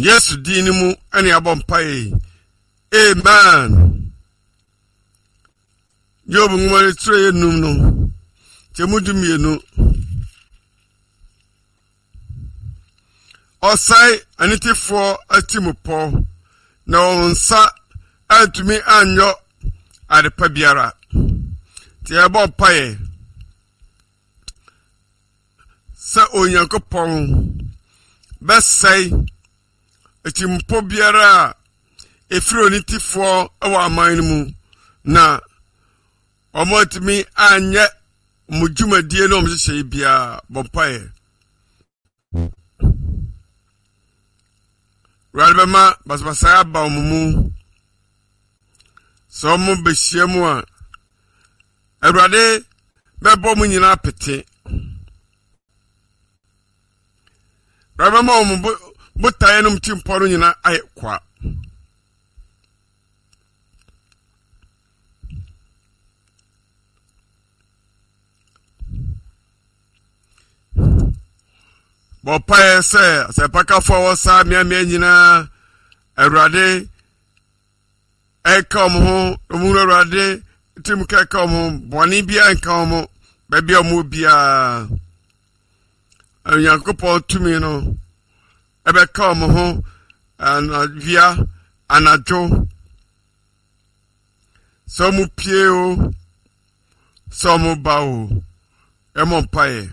Yesu din no mu ɛne abɔ mpaeɛ yi. Amen. Job nwoma no tire yɛ num no, kyɛ mu 12. Ɔsɛe anitefoɔ atirimpɔ, na wɔn nsa antumi anyɔ adepa biara. Nti yɛbɔ mpaeɛ sɛ Onyankopɔn bɛsɛe atirimpɔ biara a ɛfiri onitefoɔ wɔ aman no mu na wɔatumi anyɛ wɔn dwumadie ne wɔn nhyehyɛeɛ biara. Bɔ mpaeɛ. Awurade bɛma basabasayɛ aba wɔn mu. Sɛ wɔn bɛhyia mu a, Awurade bɛbɔ wɔn nyinaa pete. Awurade bɛma wɔn botaeɛ no ti mpɔ no nyinaa ayɛ kwa. Bɔ mpaeɛ sɛ asɛmpakafoɔ a wɔ saa mmeammea nyinaa Awurade ɛnka wɔn ho, wɔn hunu Awurade tirim ka ɛka wɔn ho, bɔne biara nka wɔn ho, baabi a wɔn biara. Onyankopɔn tumi no ɛbɛka wɔn ho anawia, anadwo. Sɛ wɔn pie o, sɛ wɔn ba o, ɛmɔ mpaeɛ.